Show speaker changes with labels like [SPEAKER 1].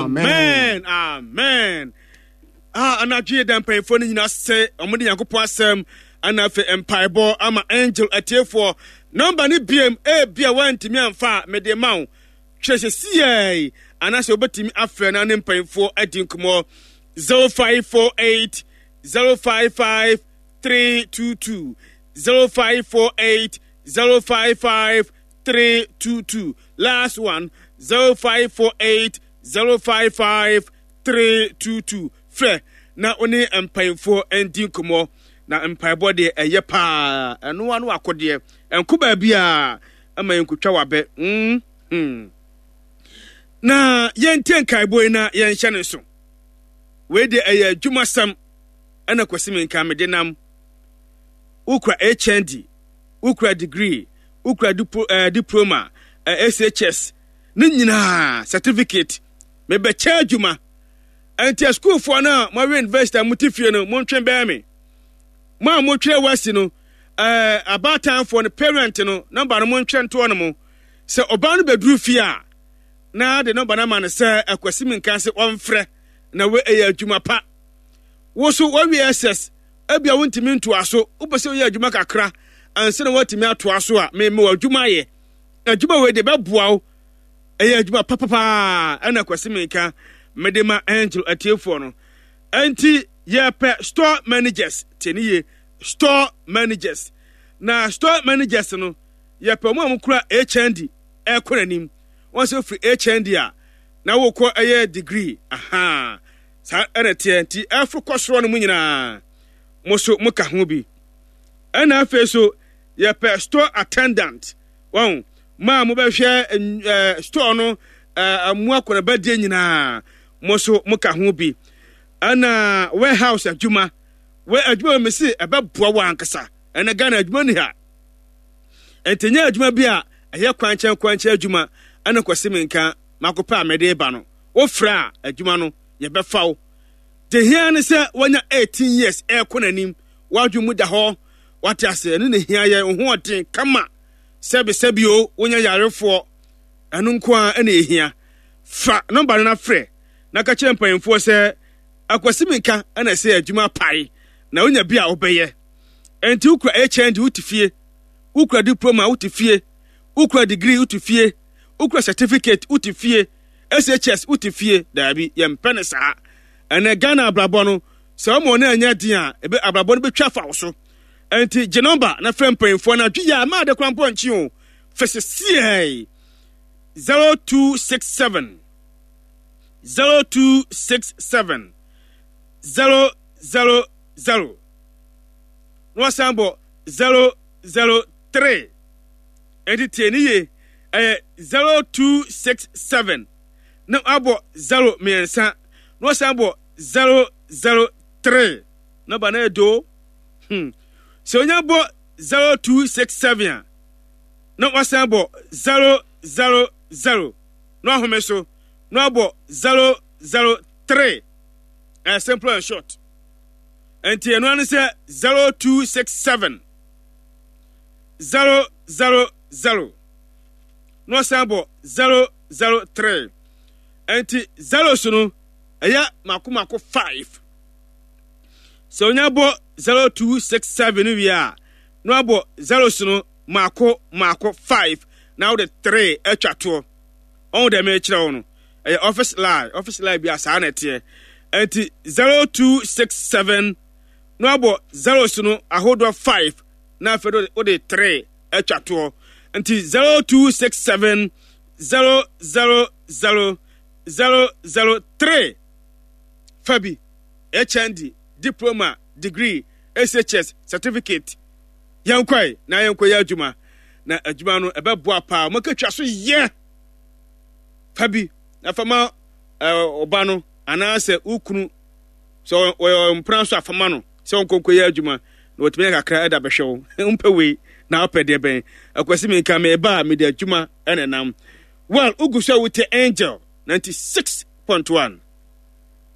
[SPEAKER 1] Amen. Amen. Ah, anadwo yɛ da mpanyinfoɔ no nyinaa sɛ wɔn de Nyankopɔn asɛm ana afei mpaebɔ ama angel atiefoɔ. Nɔmba no biem ebi a wɔantumi amfa a mede ma wo. Kyerɛ sɛ siɛi anaasɛ wobɛtumi afrɛ na ne mpanyinfoɔ adi nkɔmmɔ 0548 055 322 0548 055 322 last one 0548 055 322 frɛ na wo ne mpanyinfoɔ ndi nkɔmmɔ na mpaebɔ deɛ ɛyɛ paa ɛno ano akodeɛ ɛnko baabi a ɛma yɛnkotwa wabɛ mm hmm. Na yɛntie nkaebɔ yi na yɛnhyɛ ne nso. Wei deɛ ɛyɛ adwumasɛm ɛna Kwasi Menka mede nam. Wokura HND, wokura degree, wokura diplo, eh, diploma, eh, SHS, ne nyinaa certificate. Mebɛkyɛ adwuma. Ɛnti asukuufoɔ no a moawie university a mote fie no, montwe bɛn me. Mo a motwerɛ wasi no, eh, abaatanfoɔ no, parent no, nɔmba no montwerɛ ntoɔ no mo. Sɛ ɔbaa no bɛduru fie a, na de nɔmba no ama no sɛ Akwasi Menka se ɔmfrɛ na wei ɛyɛ adwuma pa. Wo so woawie SS, ebia wontumi ntoa so, wopɛ sɛ woyɛ adwuma kakra ansa na woatumi atoa so a, me mewɔ adwuma ayɛ. Adwuma wei de bɛboa wo. Ɛyɛ adwuma papapaa ɛna Kwasi Menka mede ma Angel atiefoɔ no. Ɛnti yɛpɛ store managers, tie ne yie, store managers. Na store managers no, yɛpɛ wɔn a wɔkura HND ɛkɔ n'anim. Wɔn sɛ wofiri HND a, na wokɔ ɛyɛ degree, aha. Saa ɛna ɛteɛ nti ɛforo kɔ soro no mu nyinaa mo so mo ka ho bi. Ɛna afei so yɛpɛ store attendant wɔn mo a mobɛhwɛ ɛɛ store no ɛɛ mo akɔnabadie nyinaa mo so mo ka ho bi. Ɛna warehouse adwuma wɔ adwuma wɔ mesi ɛbɛboa wɔ ankasa ɛna Ghana adwuma ni ha. Nti nyɛ adwuma bi a ɛyɛ kwankyɛn kwankyɛn adwuma ɛna kwasi menka makɔpɛ a mede ba no. Wofrɛ a, adwuma no, yɛbɛfa wo. Deɛ hia ne sɛ woanya 18 years ɛrekɔ n'anim, w'adwene mu da hɔ, wate ase, ɛno na hia yɛn, wo ho ɔden kama, sɛbi sɛbi o, wonyɛ yarefoɔ, ɛno nko ara ɛna ɛhia. Fa nɔmba no na frɛ na ka kyerɛ mpanyinfoɔ sɛ Akwasi Minka ɛna ɛsɛ adwuma apae na wonya bi a wobɛyɛ. Ɛnti wokura HND wote fie, wokura diploma wote fie, wokura degree wote fie, wokura certificate wote fie, SHS wote fie daabi yɛmpɛ no saa ɛnɛ Ghana abrabɔ no sɛ wɔma wɔn anyɛ den a ebe abrabɔ no bɛtwa afa wo so ɛnti gye nɔmba na frɛ mpanyinfoɔ no adwe yɛ a maa de kora mpo nkye o fɛsɛ siɛi 0267 0267 000 na wasan bɔ 003 Enti tie no yie, ɛyɛ 0267 na wabɔ 0 mmiɛnsa na wasan bɔ 003 na ba no yɛ do. Hmm. Sɛ onya bɔ 0267 a na wasan bɔ 000 na wahome so na wabɔ 003. Ɛyɛ simple and short. Enti ɛno ano sɛ 0267 0 0 0 na ɔsan bɔ 0 0 3 ɛnti zeros no ɛyɛ mako mako 5 sɛ onya bɔ 0 2 6 7 wie a na wabɔ zeros no mako mako 5 na wode 3 atwa toɔ ɔho dɛ mekyerɛ wo no ɛyɛ office line office line bi a saa na ɛteɛ ɛnti 0 2 6 7 na wabɔ zeros no ahodoɔ 5 na afei de wode 3 atwa toɔ nti 0267 000 003 fa bi HND diploma degree SHS certificate yɛnkɔe na yɛnkɔyɛ adwuma na adwuma no ɛbɛboa paa wɔn so yɛ fa bi na fa ma ɔba no anaasɛ wo kunu sɛ ɔyɛ mpena nso a fa ma no sɛ ɔnkɔ nkɔyɛ adwuma na watumi ayɛ kakra ɛda bɛhwɛ wo wompɛ wei na wopɛ deɛ bɛn akwasi mi nka meba a mede adwuma ɛna nam well wogu so a wote angel 96.1.